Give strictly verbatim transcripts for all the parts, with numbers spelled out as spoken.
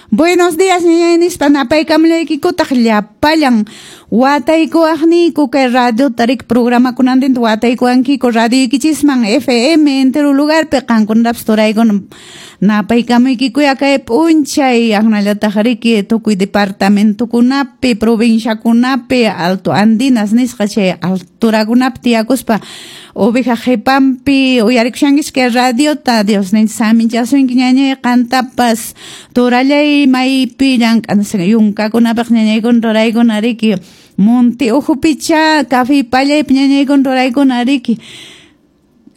Buenos días ñañay nispa napaykamullaykikutaq llapallan wataykuwaqniyku kay radiota riki programakunantinta wataykuwankiku radioykichisman F M entero lugarpi qankunatapas turaykuna napaykamuykikuya kay p'unchay aqnallataq riki tukuy departamentokunapi provinciakunapi Alto Andinas nisqa chay alturakunapi tiyakuspa oveja qhipanpi uyarikushankichis kay radiota. Dios ninchis saminchasunki ñañay qantapas turallay maypi llank'an yunkakunapaq ñañaykuna turaykuna riki monte ukhupicha café pallaypi ñañaykuna turaykuna riki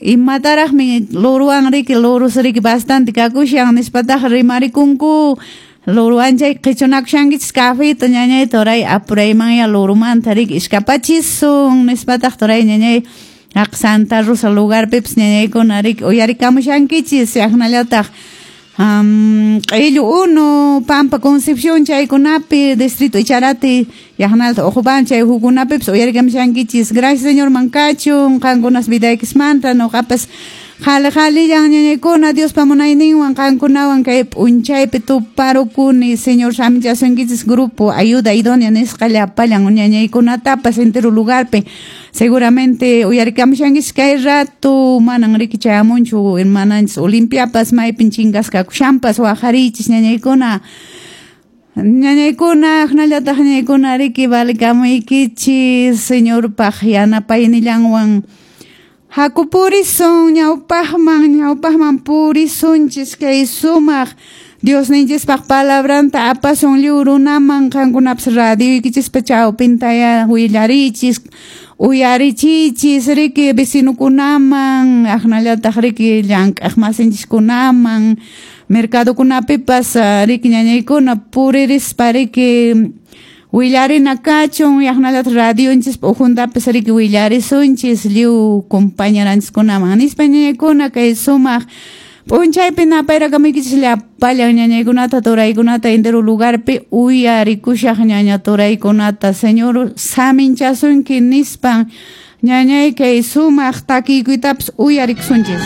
imataraqmi luruwan riki lurus riki bastante kakushan nispataq rimarikunku luruwan chay qichunakushankichis cafeta ñañay turay apuraymanya lurumanta riki iskapachisun nispataq turay ñañay haq Santa Rosa lugarpipas ñañaykuna riki uyarikamushankichis aqnallataq Um, q'illu unu Pampa Concepción chaykunapi distrito Icharati yaqnalta Uqubán chay hukunapipas uyarikamushankichis. Gracias Señor mankachun qankunas vidaykismanta nuqapas qhali qhalillan ñañaykuna Diospa munayninwan qankunawan kay p'unchaypi tuparukuni. Señor saminchasunkichis grupo Ayuda Idónea nisqa llapallan ñañaykunatapas entero lugarpi seguramente uyarikamushankichis kay rato manan riki chayamunchu hermananchis Olimpiapas maypin chingasqa kakushanpas waqarichis ñañaykuna ñañaykuna aqnallataq ñañaykuna riki valikamuykichis Señorpaq yanapaynillanwan haku purisun ñawpaqman ñawpaqman purisunchis kay sumaq Diosninchispaq palabranta apasun lliw runaman qankunapas radioykichispa chawpintaya willarichis uyarichichis riki vecinukunaman aqnallataq riki llank'aq masinchiskunaman mercadokunapipas riki ñañaykuna puririspa riki willarina kachun yaqnallataq radionchispa ukhuntapas riki willarisunchis lliw compañeranchiskunaman nispa ñañaykuna kay sumaq p'unchaypi napayrakamuykichis llapallan ñañaykunata turaykunata entero lugarpi uyarikushaq ñaña turaykunata Señor saminchasunki nispan ñañay kay sumaq takiykuytapas uyarikusunchis.